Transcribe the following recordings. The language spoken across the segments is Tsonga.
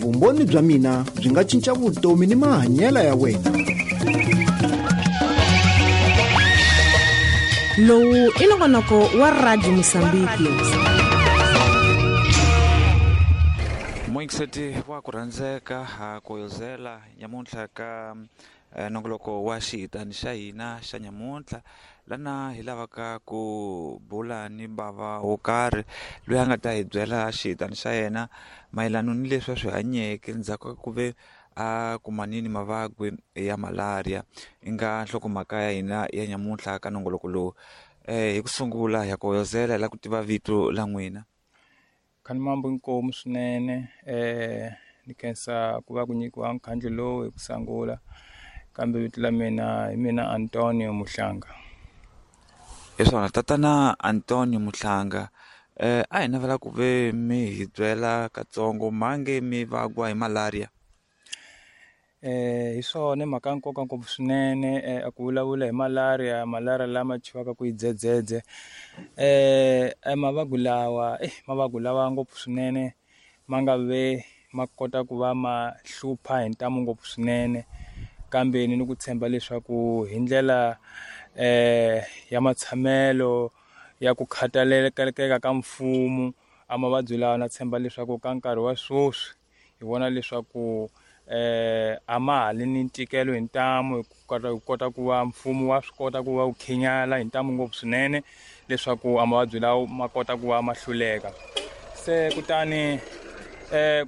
Vumbhoni bya mina byi nga cinca vutomi ni mahanyelo ya wena. Lowu i nongonoko wa Radio Mosambiki. Muyingiseti wa ku rhandzeka ha koyozela nyamuntlha ka nongoloko wa xihitani xa hina xa nyamuntlha lana hi lavaka ku bula ni bava wo karhi loyi a nga ta hi byela xihitani xa yena mayelana ni leswi a swi hanyeke ndzhaku ka ku ve a kumanini mavabyi ya malaria i nga nhlokomhaka ya hina ya nyamuntlha ka nongoloko lowu. Hi ku sungula hi ya koyozela hi lava ku tiva vito la n'wina. Khanimambo inkomu swinene ni khensa ku va ku nyikiwa nkhandlu lowu hi ku sungula kambe vito la mina hi mina Antonio Muhlanga. Hi swona tatana Antonio Muhlanga, a hi navela ku ve mi hi byela katsongo mhange mi vagwa hi malaria. Hi swona mhaka ya nkoka ngopfu swinene ku vulavula hi malaria, malaria lama thyiwaka ku i dzedzedze. Mavabyi lawa mavabyi lawa ngopfu swinene ma nga ve ma kota ku va ma hlupha hi ntamu ngopfu swinene kambe ni ku tshemba leswaku hi ndlela ya matshamelo ya ku khathaleleka ka mfumo a mavabyi lawa na tshemba leswaku ka nkarhi wa sweswi hi vona leswaku a ma ha li ni ntikelo hi ntamu hi kota ku va mfumo wa swi kota ku va wu khinyala hi ntamu ngopfu swinene leswaku a mavabyi lawa ma kota ku va ma hluleka. Se kutani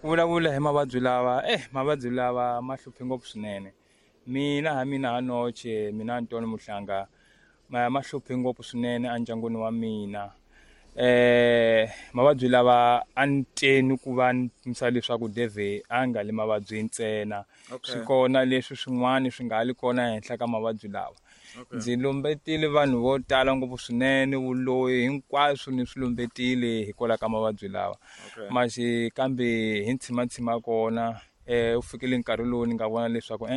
ku vulavula hi mavabyi lawa mavabyi lawa ma hluphe ngopfu swinene. Mina ha mina ha noche mina Antonio Muhlanga ma hluphe ngopfu swinene endyangwini wa mina. Mavabyi lawa a ni teni ku va ni pimisa leswaku Dave a nga le mavabyi ntsena. Swi kona leswi swin'wana swi nga li kona ehenhla ka mavabyi lawa. Ndzi lumbetile vanhu vo tala ngopfu swinene vuloyi hinkwaswo ni swi lumbetile hikwalaho ka mavabyi lawa. Masi kambe hi ntshimantsima kona u fikile nkarhi lowu ni nga vona leswaku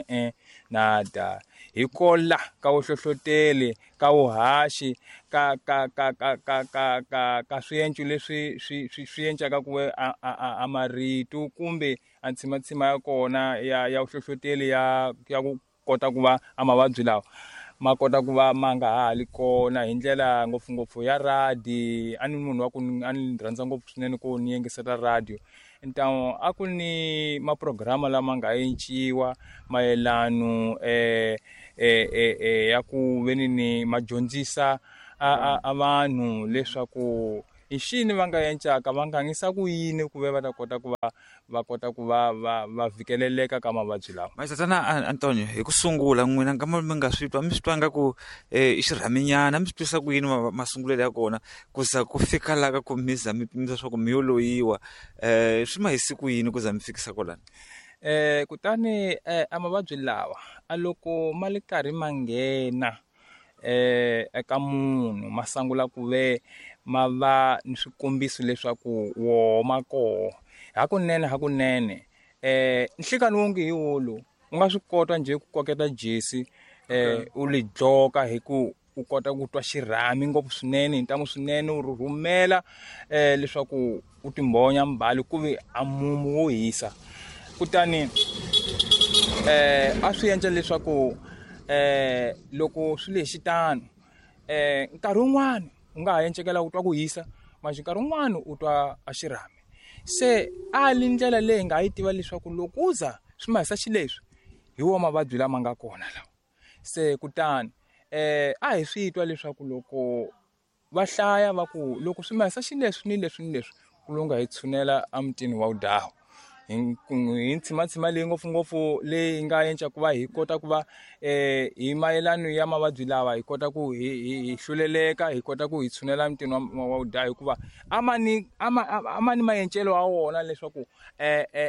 na da hikola ka vuhlohloteli ka vuhaxi ka ka ka ka ka ka ka ka swienco leswi swi swi swi encaka ku a marito kumbe a ntshimantsima ya kona ya vuhlohloteli ya ku kota ku va a mavabyi lawa ma kota ku va ma nga ha li kona hi ndlela ngopfungopfu ya radio. A ni munhu wa ku a ni rhandza ngopfu swinene ku ni yingisela radio. Ntamu a ku ni maprograma lama nga enciwa mayelano ya ku veni ni ma dyondzisa a vanhu leswaku i xini va nga encaka va nga ngisa ku yini ku ve va ta kota ku va va kota ku va va va vhikeleleka ka mavabyi lawa. Tatana Antonio, hi ku sungula n'wina nga mi nga swi twa mi swi twa nga ku i xirhaminyana mi swi twisa ku yini masungulelo ya kona ku za ku fika la ka ku mi za mi pimisa swa ku mi yo loyiwa swi ma hisi ku yini ku za mi fikisa kwalano? Kutani a mavabyi lawa a loko ma le karhi ma nghena eka munhu ma sungula ku ve ma va ni swikombiso leswaku woho ma koho hakunene hakunene nhlikani wonge hi wolo u nga swi kota njhe ku koketa jesi u li dloka hi ku u kota ku twa xirhami ngopfu swinene hi ntamu swinene u rhurhumela leswaku u timbhonya mbali ku ve a mumu wo hisa. Kutani a swi endla leswaku loko swi le xitano nkarhi wun'wani u nga ha encekela u twa ku hisa manje nkarhi wun'wani u twa a xirhami. Se a li ndlela leyi nga yi tiva leswaku loko u za swi ma hisa xileswi hi wo mavabyi lama nga kona lawa. Se kutani a hi swi twa leswaku loko va hlaya va ku loko swi ma hisa xileswi ni leswi ni leswi ku lunga hi tshunela emutini wa Udawu. Hi ntshimantsima leyi ngopfungopfu leyi nga enca ku va hi kota ku va hi mayelano ya mavabyi lawa hi kota ku hi hluleleka hi kota ku hi tshunela emutini wa Udawu hikuva a ma ni a ma ni maencelo ya wona leswaku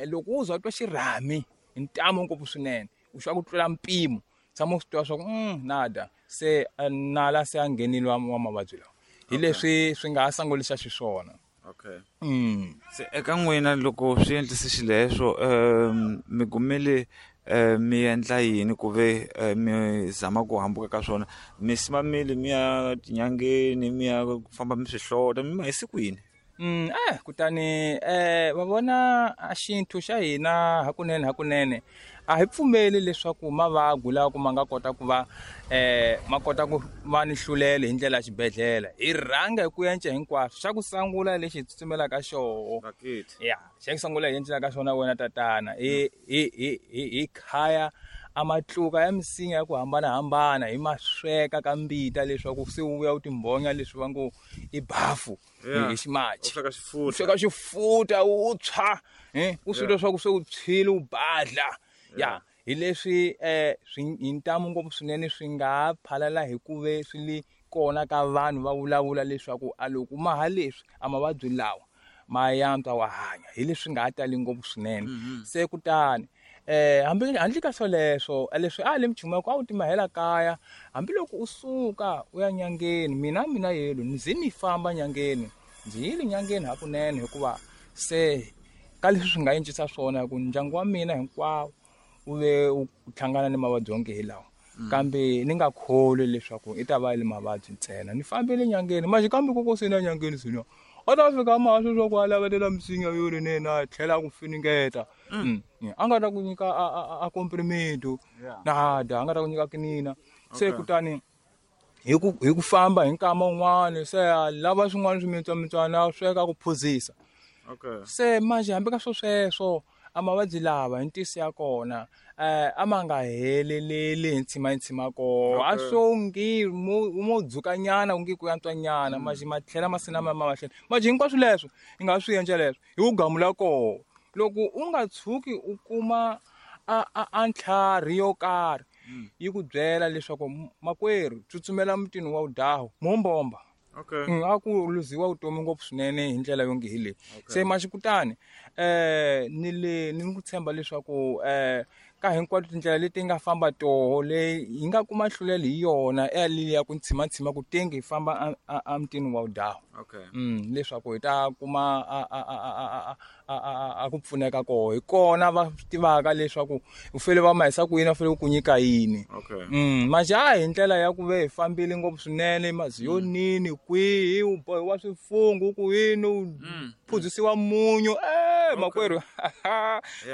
loko u za u twa xirhami hi ntamu ngopfu swinene u xa ku tlula mpimo tshama u swi tiva swa ku nada se nala se a nghenile wa mavabyi lawa hi leswi swi nga ha sangulisa xiswona. Se eka n'wina loko swi endlise xileswo mi kumile mi endla yini ku ve mi zama ku hambuka ka swona mi simamile mi ya tinyangeni mi ya famba mi swi hlota mi ma hisi ku yini? Kutani va vona a xintu xa hina hakunene a hi pfumeli leswaku mavabyi lawa ku ma nga kota ku va ma kota ku va ni hlulelo hi ndlela ya xibedhlele. Hi rhanga hi ku enca hinkwaswo. Xa ku sungula lexi hi tsutsumelaka xoho. Ya, xa ku sungula hi encelaka xona wena tatana hi khaya a matluka ya misinya ya ku hambanahambana hi ma sweka ka mbita leswaku se wu vuya wu timbhonya leswi va ngo i bafu hi ximachi. U sweka xifuta wu tshwa, u swi twa swa ku se wu tshwile wu badla. Ya, hi leswi hi ntamu ngopfu swinene swi nga phalala hi ku ve swi le kona ka vanhu va vulavula leswaku a loko ma ha leswi a mavabyi lawa ma yantswa wa hanya, hi leswi nga ha tali ngopfu swinene. Se kutani hambi handle ka swoleswo leswi a le mchumu a wu timahela kaya, hambiloko u suka u ya nyangeni, mina yelo ndzi ni famba nyangeni, ndzi yile nyangeni hakunene hikuva se ka leswi swi nga encisa swona ku ndyangu wa mina hinkwawo wu ve u hlangana ni mavabyi onge hi lawa. Kambe ni nga kholwi leswaku i ta va le mavabyi ntsena. Ni fambile nyangeni, manje kambe koko se na nyangeni sina a ta fika mahlo swa ku a lavetela misinya yo rinene a tlhela a ku finingeta. A nga ta ku nyika a comprimido nada, a nga ta ku nyika kinina. Se kutani hi ku famba hi nkama wun'wani se a lava swin'wana swimitswamitswana a sweka ku phuzisa. Se manje hambi ka swo sweswo a mavabyi lava hi ntiyiso ya kona a ma nga heleleli hi ntshima koho. A swo ngi mo dzukanyana ku nge ku yantswanyana, manje ma tlhela ma sina ma mahlweni. Manje hinkwaswo leswo hi nga swi endla leswo hi ku gamula koho. Loko u nga tshuki u kuma a ntlhari yo karhi yi ku byela leswaku makwerhu tsutsumela mutini wa wudahu mombomba. A ku luziwa vutomi ngopfu swinene hi ndlela yo nge hi leyi. Se maxikutani ni le ni ku tshemba leswaku ka hinkwato tindlela leti nga famba toho leyi hi nga kuma nhlulelo hi yona ya ku ntshima ku tenge hi famba a mutini wa wudahu. Leswaku hi ta kuma a ku pfuneka koho. Hi kona va tivaka leswaku u fele va mahisa ku yini, va fele ku nyika yini. Manje a hi ndlela ya ku ve hi fambile ngopfu swinene maziyonini kwihi u bohiwa swifungu ku yini u phuzisiwa munyu makwerhu.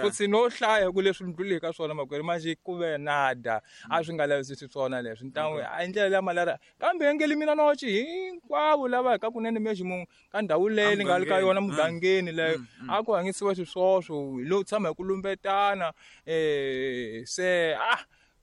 Futhi no hlaya ku leswi ndluleke ka swona makwerhu, manje ku ve nada a swi nga lavisisi swona leswi. Ntangu a ndlela ya malaria kambe engeli mina nochi hinkwavo lava hi ka kunene mexi munhu ka ndhawu leyi ni nga le ka yona mugangeni leyo a ku hanyisiwa xiswoswo lo tshama hi ku lumbetana. Se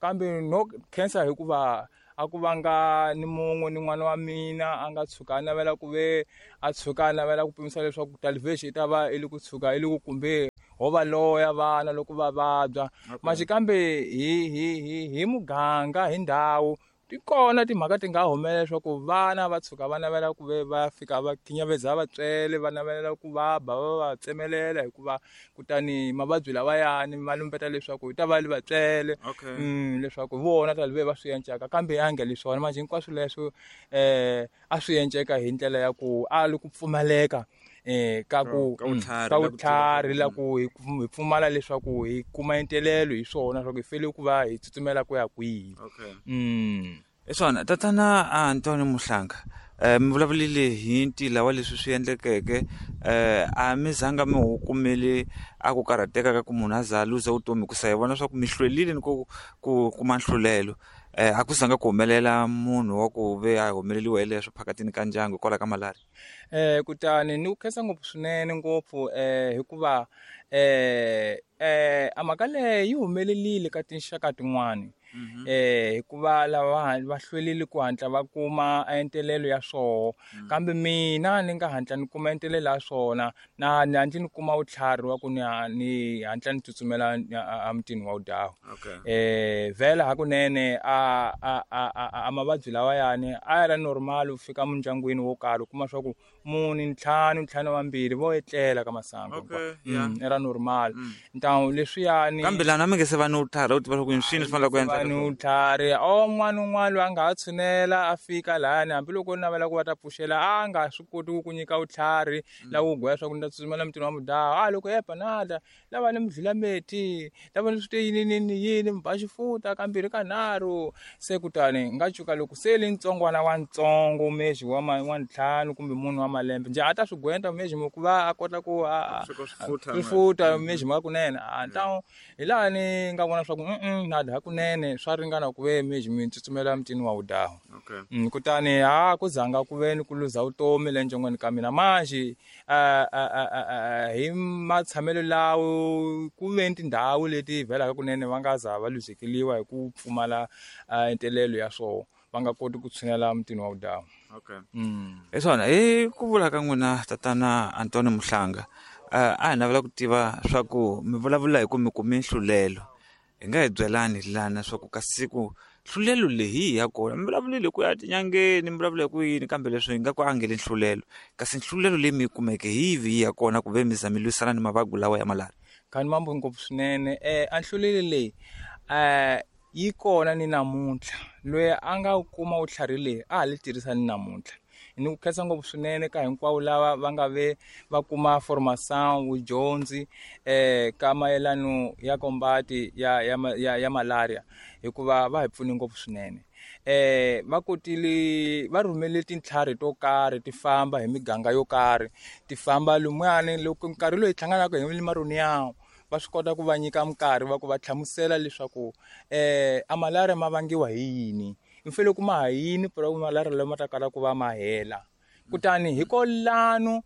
kambe no khensa hikuva a ku vanga ni mun'we ni n'wana wa mina a nga tshuka a navela ku ve a tshuka a navela ku pimisa leswaku talivexi yi ta va i le ku tshuka i le ku kumbe ho va loya vana loko va vabya. Manje kambe hi muganga hi ndhawu ti kona timhaka ti nga humelela leswaku vana va tshuka va navela ku ve va fika va khinyaveza vatswele, va navela ku va ba va va tsemelela hikuva kutani mavabyi lawayani ma lumbeta leswaku hi ta va le vatswele, leswaku vona ta ve va swi encaka kambe ya nge leswona. Manje hinkwaswo leswo a swi enceka hi ndlela ya ku a li ku pfumaleka ka ku ka vutlhari la ku hi pfumala leswaku hi kuma entelelo hi swona leswaku hi fele ku va hi tsutsumela ku ya kwihi. Hi swona tatana Antonio Muhlanga, mi vulavulile hi ntila wa leswi swi endlekeke, a mi zanga mi wu kumele a ku karhateka ka ku munhu a za a luza vutomi hikusa hi vona swa ku mi hlwelile ni ku kuma nhlulelo. A ku zanga ku humelela munhu wa ku ve a humeleliwa hi leswo phakatini ka ndyangu hikwalaho ka malaria. Kutani ni ku khensa ngopfu swinene ngopfu hikuva a mhaka leyi yi humelelile ka tinxaka tin'wani. Hikuva lava va hlwelile ku hatla va kuma entelelo ya swoho, kambe mina ni nga hatla ni kuma entelelo ya swona na ni hatla ni kuma vutlhari wa ku ni hatla ni tsutsumela a mutini wa wudahu. Vhela hakunene a mavabyi lawayani a ya ri normal u fika mindyangwini wo karhi u kuma swa ku mune ntlhanu vambirhi vo etlela ka masangu i ra normal. Ntawu leswiyani kambe lana mi nge se va ni vutlhari u tiva swa ku swini swi fanele ku endla ni vutlhari o n'wana un'wana loyi a nga ha tshunela a fika lahayani hambiloko na navela ku va ta pfuxela a nga swi koti ku ku nyika vutlhari la ku gwaya swa ku ni ta tsutsumela mutini wa mudaha a loko yepa nada lava ni mudlula-meti lava ni swi te yini yini yini mi ba xifuta kambirhi kanharhu se kutani nga cuka loko se li ntsongwana wa ntsongo mexi wa wa ntlhanu kumbe munhu wa malembe njhe a ta swi gwenta mexi ku va a kota ku swifuta mexi ma kunene a ntawu hi laha ni nga vona swa ku nada hakunene swa ringana ku ve mexi mi tsutsumela mutini wa wudahu. Okay. Kutani ha ku zanga ku ve ni ku luza vutomi le ndyangwini ka mina manjhe hi matshamelo lawo ku ve ni tindhawu leti vhelaka kunene va nga za va luzekeliwa hi ku pfumala ntelelo ya swona va nga koti ku tshinela mutini wa vudawu. Okay. Hi swona hi ku vula ka n'wina tatana Antonio Muhlanga, a hi navela ku tiva swa ku mi vulavula hi ku mi kume nhlulelo. Hi nga hi byelani lana swa ku ka siku nhlulelo leyi ya kona mi vulavulile ku ya tinyangeni mi vulavula hi ku yini kambe leswi hi nga ku angeli nhlulelo kasi nhlulelo leyi mi yi kumeke hi yihi ya kona ku ve mi za mi lwisana ni mavabyi lawa ya malaria? Khani mambo ngopfu swinene. A nhlulelo leyi yi kona ni namuntlha loyi a nga kuma vutlhari leyi a ha li tirhisa ni namuntlha. Ni ku khensa ngopfu swinene ka hinkwavo lava va nga ve va kuma formation vudyondzi ka mayelano ya kombati ya ya ya, ya malaria hikuva va hi pfune ngopfu swinene. Va kotile va rhumele tintlhari to karhi ti famba hi miganga yo karhi ti famba lumuyani loko nkarhi loyi hi hlanganaka hi maroni yawo va swi kota ku va nyika minkarhi va ku va hlamusela leswaku a malaria ma vangiwa hi yini mi fanele ku ma ha yini malaria lama ma ta kala ku va ma hela. Kutani hikwalano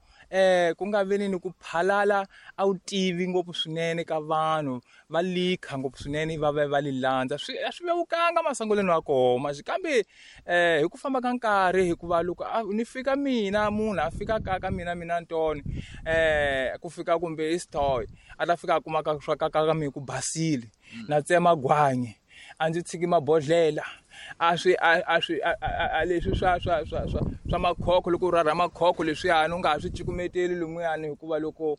ku nga veni ni ku phalala a wu tivi ngopfu swinene ka vanhu va likha ngopfu swinene va va va li landza swi a swi vevukanga masungulweni wa kona kambe hi ku famba ka nkarhi hikuva loko ni fika mina munhu a fika ka ka mina mina Ntoni ku fika kumbe i Sithoyi a ta fika a kuma ka swa ka ka mina ku basile na tsema gwanyi a ndzi tshiki mabodhlela a swi a swi a leswi swa swa swa swa swa makhokho loko u rhurha makhokho leswiyani u nga ha swi cukumeteli lumuyani hikuva loko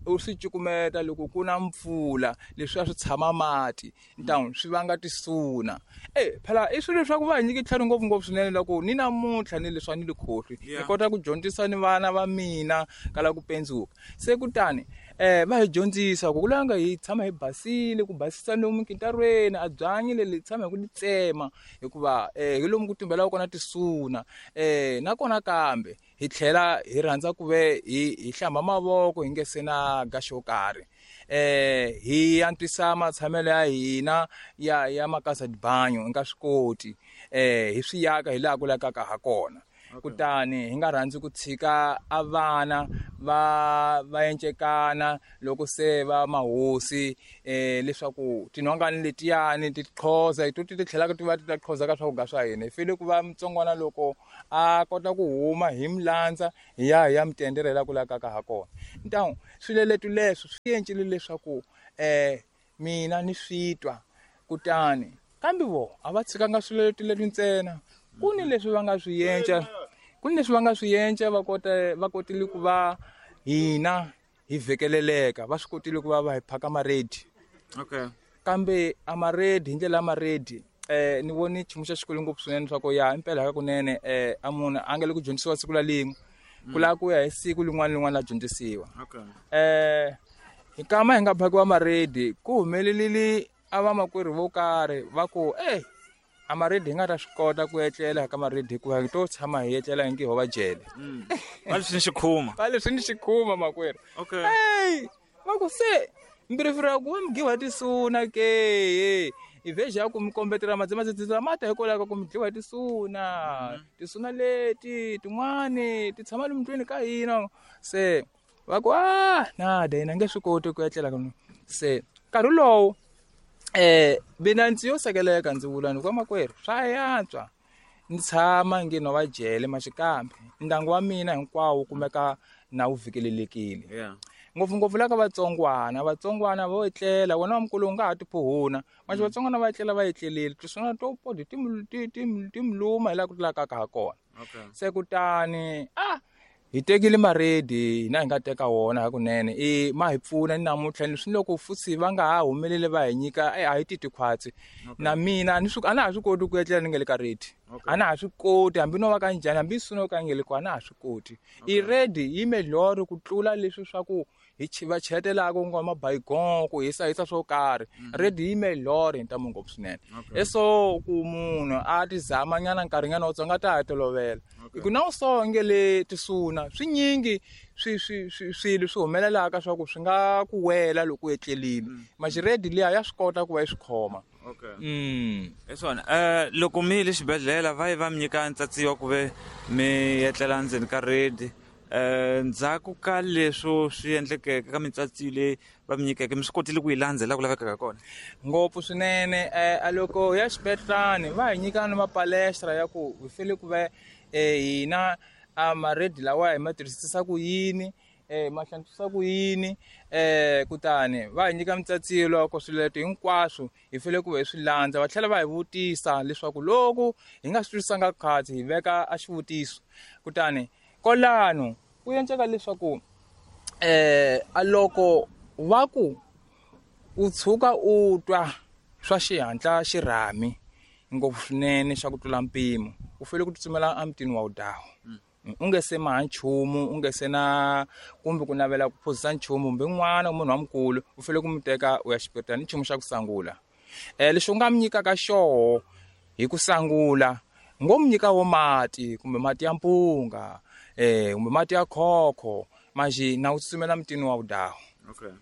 u swi cukumeta loko ku na mpfula leswiya swi tshama mati ntamu swi vanga tisuna. Phela i swilo swa ku va hi nyike tlhari ngopfungopfu swinene loko ni namuntlha ni leswi a ni li khohlwi ni kota ku dyondzisa ni vana va mina ka la ku pendzuka. Se kutani va hi dyondzisa ku kulanga hi tshama hi basile ku basisa lomu nkintarweni a byanyi leli tshama hi ku li tsema hikuva hi lomu ku tumbelaka kona tisuna. Nakona kambe hi tlhela hi rhandza ku ve hi hlamba mavoko hi nge se na ga xo karhi. Hi antswisa matshamelo ya hina ya ya makasa dibanyo hi nga swi koti hi swi yaka hi laha ku lakaka ha kona. Kutani hi nga rhandzi ku tshika a vana va va encekana loko se va mahosi leswaku tinhongani letiyani ti qhoza hi to ti tlhelaka ti va ti ta qhoza ka swakudya swa hina. Hi fanele ku va mutsongwana loko a kota ku huma hi mi landza hi ya hi ya mi tendela ku lakaka ha kona. Ntamu swileleto leswi swi encile leswaku mina ni swi twa kutani kambe vo a va tshikanga swileleto leswi ntsena ku ni leswi va nga swi yenca ku ni leswi va nga swi yenca va kota va kotile ku va hina hi vhekeleleka va swi kotile ku va va hi phaka maredi. Okay. Kambe a maredi hi ndlela ya maredi ni voni nchumu xa xikolo ngopfu swinene swa ku ya impela hakunene a munhu a nga le ku dyondzisiwa siku la lin'we ku lava ku ya hi siku lin'wana lin'wana la dyondzisiwa. Okay. Hi kama hi nga phakiwa maredi ku humelelile a vamakwerhu vo karhi va ku a maredi hi nga ta swi kota ku etlela ka maredi hikuva hi to tshama hi etlela hi nge ho va jele. Va leswi ni xikhuma. Va leswi ni xikhuma makwerhu. Okay. Va ku se mbirifiro ya ku va mi dliwa hi tisuna ke i vheji ya ku mi kombetela madzimadzimadzima mata hikwalaho ka ku mi dliwa hi tisuna. Tisuna leti tin'wani ti tshama lomu ndlwini ka hina se va ku nada hina nge swi koti ku etlela ka se nkarhi lowu mina ndzi yo sekeleka ndzi vula ni ku makwerhu swa yantswa ni tshama nge no va jele maxikambe ndyangu wa mina hinkwawo wu kumeka na wu vhikelelekile. Ngopfungopfu la ka vatsongwana vatsongwana vo etlela wena wa mukulu u nga ha tiphuhuna manje vatsongwana va etlela va etlelile tisuna to podi ti ti ti ti mi luma hi laha ku tlulaka ha kona. Okay. Se kutani Hi tekile maredi hina hi nga teka wona hakunene i ma hi pfuna ni namuntlha ni swi loko futhi va nga ha humeleli va hi nyika a hi titwi khwatsi. Na mina a ni swi a na ha swi koti ku etlela ni nga le ka redi. A na ha swi koti hambi no va ka njhani hambi swi ka nge le ko a na ha swi koti. I redi yi melhoro ku tlula leswi swa ku hi va chetelaka ku nga mabayigon ku hisa hisa swo karhi. Redi yi melhoro hi ntamu ngopfu swinene. Eso ku munhu a ti zama nyana nkarhi nyana wutsongo a ta ha tolovela. Hi ku na u so nge le tisuna swinyingi swi swi swi swilo swi humelelaka swa ku swi nga ku wela loko u etlelile. Redi liya ya swi kota ku va yi swi khoma. Hi swona loko mi yile xibedhlele va yi va mi nyika ntsatsiwa ku ve mi etlela ndzeni ka redi ndzhaku ka leswo swi endlekeke ka mintsatsiyo leyi va mi nyikeke mi swi kotile ku yi landza laha ku lavekaka kona? Ngopfu swinene. A loko hi ya xibedhlani va hi nyika ni mapalestra ya ku hi fanele ku va hina a maredi lawa hi ma tirhisisa ku yini, ma hlantswisa ku yini, kutani va hi nyika mintsatsiyo loko swiletelo hinkwaswo hi fanele ku va hi swi landza. Va tlhela va hi vutisa leswaku loko hi nga swi twisisanga khatsi hi veka a xivutiso. Kutani kwalano ku endleka leswaku a loko va ku u tshuka u twa swa xihatla xirhami ngopfu swinene xa ku tlula mpimo u fanele ku tsutsumela emutini wa wudawu. U nge se maha nchumu, u nge se na kumbe ku navela ku phuzisa nchumu kumbe n'wana munhu wa mukulu u fanele ku mi teka u ya xibedhlele ni nchumu xa ku sangula. Lexi u nga mi nyikaka xoho hi ku sangula ngo mi nyika wo mati kumbe mati ya mpunga kumbe mati ya khokho manjhe na u tsutsumela mutini wa wudawu.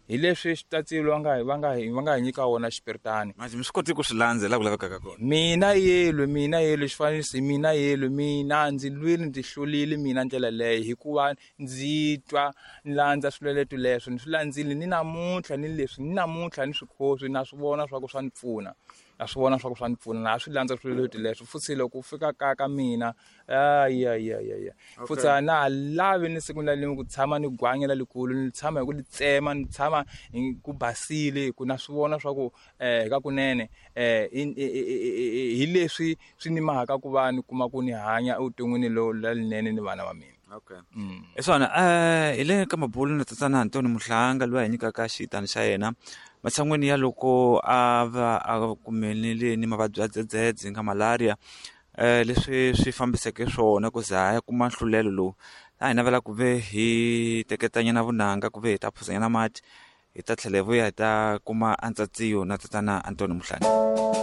Hi leswi xitatsilo va nga hi nyika wona xipiritani. Manjhe mi swi koti ku swi landza laha ku lavekaka kona? Mina yelwe mina yelwe xifaniso mina yelwe mina ndzi lwile ndzi hlulile mina ndlela leyo hikuva ndzi twa ni landza swilweleto leswo ni swi landzile ni namuntlha ni leswi ni namuntlha ni swi khoswi na swi vona swa ku swa ni pfuna. Na swi vona swa ku swa ni pfuna na swi landza swilweleto leswo futhi loko u fika ka ka mina ya futhi a na ha lavi ni siku na rin'we ku tshama ni gwanya lerikulu ni tshama hi ku li tsema ni tshama hi ku basile hi ku na swi vona swa ku ka kunene hi leswi swi ni mahaka ku va ni kuma ku ni hanya evuton'wini lowu lerinene ni vana va mina. Hi swona hi le ka mabulo na tatana Antoni Muhlanga loyi a hi nyikaka xitani xa yena matshan'weni ya loko a va a kumelele ni mavabyi ya dzedzedze nga malaria leswi swi fambiseke swona ku za a ya kuma nhlulelo lowu a hi navela ku ve hi teketanyana vunanga ku ve hi ta phuzanyana mati hi ta tlhela hi vuya hi ta kuma antsatsiyo na tatana Antoni Muhlanga.